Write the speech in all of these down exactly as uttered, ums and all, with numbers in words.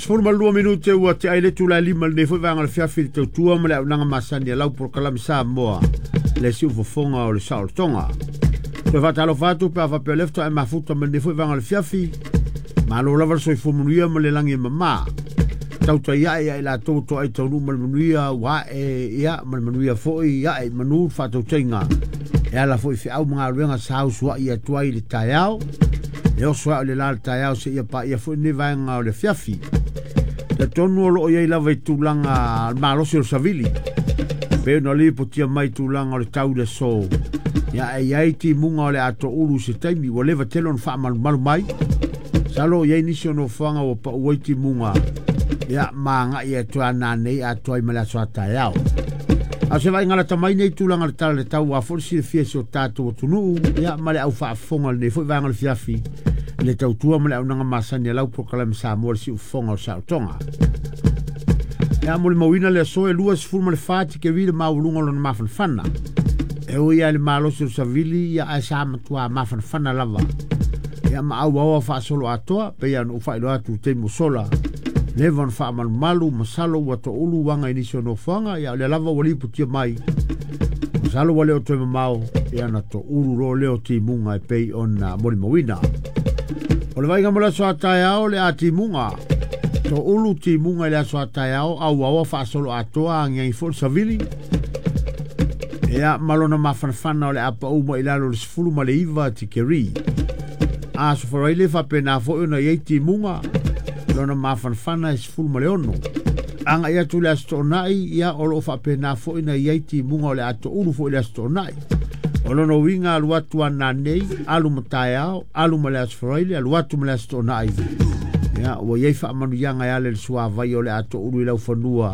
Sefulu ma le lua minute ua te ai le itula e lima lenei foi vaega o le fiafi i le tautua ma le auaunaga masani a lau polokalame Samoa le siufofoga o le saolotoga. Toe faatalofa atu pe a faapea o lea faatoa e mafuta ma lenei foi vaega o le fiafi. Malo lava le soifua manuia ma le lagi e mama. Tautai ae ia i latou ua toai taunuu ma le manuia ua ae ia ma le manuia foi ae i manu le faatautaiga. E ala foi i feau ma galuega sa usuai atu ai i le taeao. E oso ai o le la le taeao seia paia foi lenei vaega o le afiafi. Talitonu o loo i ai lava i tulaga malosi o le savili. Pei ona lipotia mai tulaga o le tau i le aso. Ia e i ai timuga o le atoulu i se taimi ua leva tele ona faamalumalu mai. Masalo o i ai nisi o nofoaga ua pau ai timuga. Ia ma agai atu a nanei atoa ai ma le aso a taeao. A o se vaaiga lata mai nei tulaga o le tala i le tau ua foi le silafia e si o tatou atunuu ia ma le au faafofoga o lenei foi vaega o le fiafi i le tautua ma le auaunaga masani a lau polokalame Samoa le siufofoga o le saolotoga. Ia molimauina le aso e luasefulu ma le fa tikeri le maualuga o lona mafanafana. E ui lava i le malosi o le savili ia ae sa matua mafanafana lava. Ia ma auaoa faasolo atoa pei ona ou faailoa atu i le taimi ua sola. Leva ona faamalumalu masalo ua toulu uaga i nisi o nofoaga ia o lea lava ua lipotia mai. Masalo ua le o toe mamao ia na toulu loa lea o timuga e pei ona molimauina. O le vaaiga mo le aso a taeao le a timuga. Toulu timuga i le aso a taeao auaoa faasolo atoa agiagi foi le savili. Ia ma lona mafanafana o le a pau mai i lalo o le sefulu ma le iva tikeri. Aso Faraile faapena foi ona i ai timuga lona mafanafana e sefulu ma le ono. Agai atu le Aso Toonai ia o loo faapena foi na i ai timuga o le a toulu foi le Aso Toonai. O lona uiga alu atu a nanei, alu ma taeao, alu ma le Aso Faraile, alu atu ma le Aso Toonai. Ia ua i ai faamanuiaga e ala i le suavai o le a toulu i laufanua.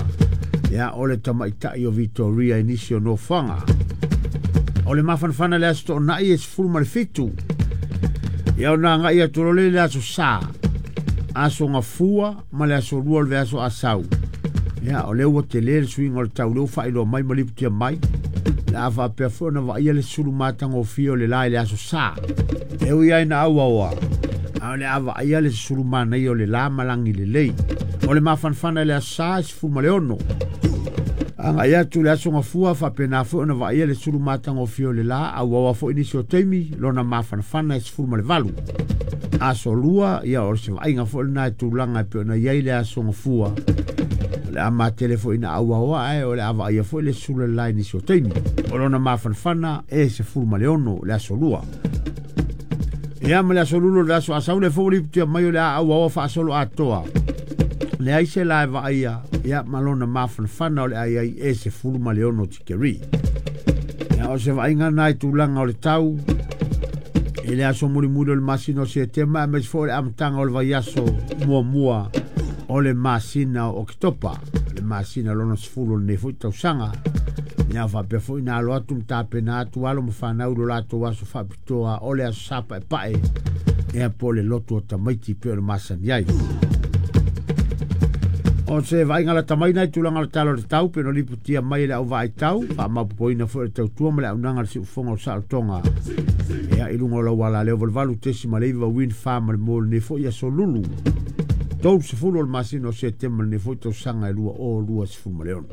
Ia o le tamaitai o Victoria i nisi o nofoaga. O le mafanafana i le Aso Toonai e sefulu ma le fitu. Ia ona agai atu loa lea i le Aso Sa, Aso Gafua ma le Aso Lua o le vaiaso Asau. Ia o lea ua tele le suiga o le tau lea ua faailoa mai ma lipotia mai. Le a faapea foi ona vaaia le sulu matagofie o le la i le Aso Sa. E ui ai na auaoa, a o le a vaaia le sulu manaia o le la ma lagi lelei. O le mafanafana i le Aso Sa e sefulu ma le ono. Agai atu le Aso Gafua faapena foi ona vaaia le sulu matagofie o le la, auaoa foi nisi o taimi, lona mafanafana e sefulu ma le valu. Aso Lua, ia o se vaaiga foi lena e tulaga e pei ona i ai le Aso Gafua. O le a matele foi ina auaoa ae o le a vaaia foi le sulu le la i nisi o taimi. O lona mafanafana e sefulu ma le ono le Aso Lua. Ia ma le Aso Lulu o le aso Asau le foi lipotia mai o le a auaoa faasolo atoa. Leai se la e vaaia ia ma lona mafanafana o le a i ai e sefulu ma le ono tikeri. Ia o se vaaiga na i tulaga o le tau i le aso mulimuli o le masina o Setema aemaise foi o le amataga o le vaiaso muamua o le masina o Oketopa, le masina lona sefulu o lenei foi tausaga. Ia faapea foi na alo atu ma tapena atu alo ma fanau i lo latou aso faapitoa o le aso Sa Paepae ia po o le lotu o tamaiti pei ona masani ai. O se vaaiga lata mai nai tulaga o le tala o le tau pei ona lipotia mai e le au vaai tau, faamaopoopoina foi le tautua ma le auaunaga a le siufofoga o le saolotoga. Ia i luga o lau alaleo valuvalu tesi ma le iva win fa ma le mo lenei foi aso Lulu. Tolu sefulu o le masina o Setema lenei foi tausaga e lua o lua sefulu ma le ono.